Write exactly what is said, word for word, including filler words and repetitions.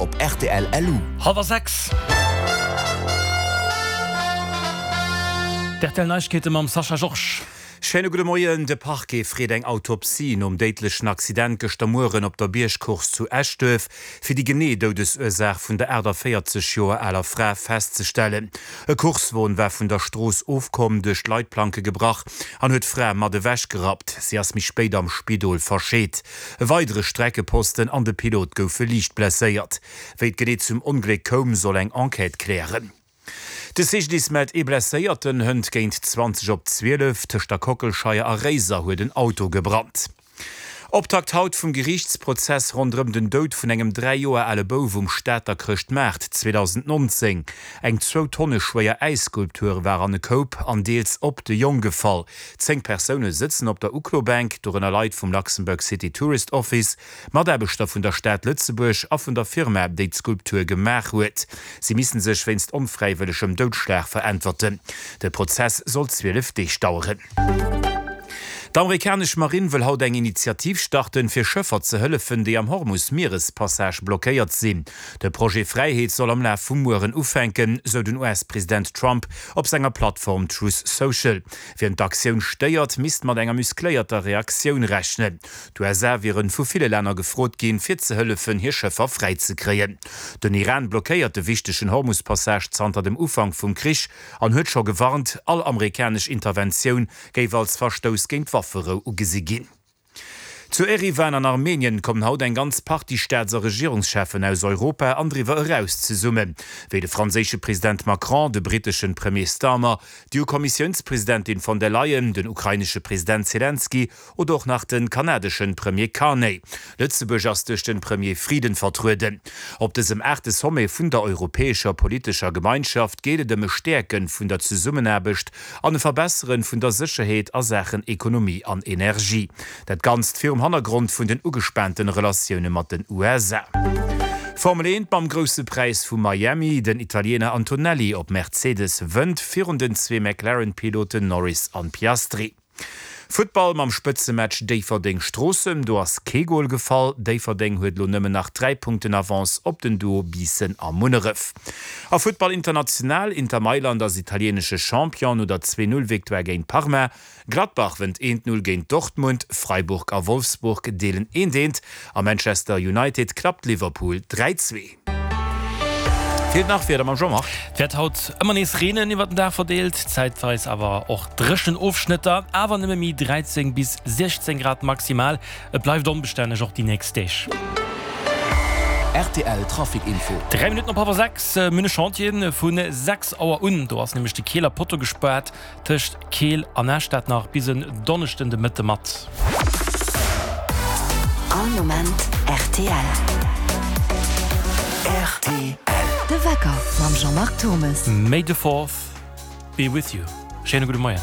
op rtl. Lu. Hallwer sechs. D'RTL Neiegkeete mam Sascha Georges. Schéine gudde Moien. De Parquet freet eng Autopsie nom déidlechen Accident gëschter Mueren op der Biergcourse zu Eschduerf, fir déi genee Doudesursaach vun der aachtavéierzeg Joer aler Fra festzestellen. E Coursewon war vun der Strooss ofkomm, duerch d'Leitplanke gebrach an huet d'Fra mat ewech gerappt. Si ass méi spéit am Spidol verscheet. E weidere Streckeposten an de Pilot goufe liicht blesséiert. Wéi et genee zum Ongléck koum, soll eng Enquête klären. De C G D I S mellt ee Blesséierten. Hënt géint zwanzeg op zwielef tëscht der Kockelscheier a Réiser huet en Auto gebrannt. Optakt haut vum Geriichtsprozess ronderëm den Doud vun engem dräi Joer ale Bouf um Stater Chrëschtmaart zweedausendnonzéng. Eng zwou Tonne schwéier Äisskulptur war an e Koup an deels op de Jong gefall. Zéng Persoune sëtzen op der Uklobänk, dorënner Leit vum Luxembourg City Tourist Office, Mataarbechter vun der Stad Lëtzebuerg a vun der Firma, déi d'Skulptur gemaach huet. Si missten sech wéinst onfräiwëllegem Doudschlag veräntwerten. De Prozess soll zwielef Deeg daueren. D'amerikanesch Marinn wëll haut eng Initiativ starten, fir Schëffer ze hëllefen, déi am Hormus-Mierespassage blockéiert sinn. De Projet Fräiheet soll am Laf vum Mueren ufänken, sou den U S-President Trump op senger Plattform Truth Social. Wien d'Aktioun stéiert, misst mat enger muscléierter Reaktioun rechnen. D'U S A wieren vu ville Länner gefrot ginn, fir ze hëllefen, hir Schëffer fräi ze kréien. Den Iran blockéiert de wichtegen Hormus-Passage zanter dem Ufank vum Krich an huet scho gewarnt, all amerikanesch Interventioun géif als Verstouss géint d'Wafferou ugesi ginn. Zu Eriwan an Armenien kommen haut eng ganz Partie Staats a Regierungscheffen aus Europa an driwwer eraus zesummen, wéi de franséische President Macron, de britteschen Premier Starmer, d'E U-Kommissiounspresidentin von der Leyen, den ukrainesche President Zelensky oder och nach de kanadeschen Premier Carney. Lëtzebuerg ass duerch de Premier Frieden vertrueden. Op dësem aachte Sommet vun der Europäescher politescher Gemeinschaft geet et ëm e Stäerke vun der Zesummenaarbecht an e Verbessere vun der Sécherheet a Saachen Ekonomie an Energie. Dat Ganzt virum Hannergrond vun den ugespaanten Relatioune mat den U S A. Formel eent mam Grousse Präis vu Miami, Den Italiener Antonelli op Mercedes wënnt virun den zwee McLaren-Piloten Norris an Piastri. Futtball mam Spëtzematch Déifferdeng-Stroossen, do ass kee Gol gefall. Déifferdeng huet elo nëmmen nach dräi Punkten Avance op den Duo Biissen a Munneref. A Futtball international, Inter Mailand ass italienesche Champion no der zwee-Null-Victoire géint Parma. Gladbach wënnt eent-Null géint Dortmund, Freiburg a Wolfsburg deelen eent-eent a Manchester United klappt Liverpool dräi-zwee. Feelt nach Wieder mam Jean-Marc. Et wäert haut ëmmer nees reenen iwwer den Dag verdeelt, zäitweis awer och dréchen Ofschnëtter, awer nëmme méi dräizéng bis siechzéng Grad maximal. Et bleift onbestänneg och déi nächst Deeg. R T L Trafic Info. Dräi Minutten op hallwer sechs. Mir hunn e Chantier vu sechs Auer un. Do ass nämlech de Keeler Potto gespaart tëscht Keel an Esch. Dat nach bis en Donneschden de Mëtte mat. All Moment R T L. R T L. De Wecker mam Jean-Marc Thommes. May the fourth be with you. Schéine gudde Moien.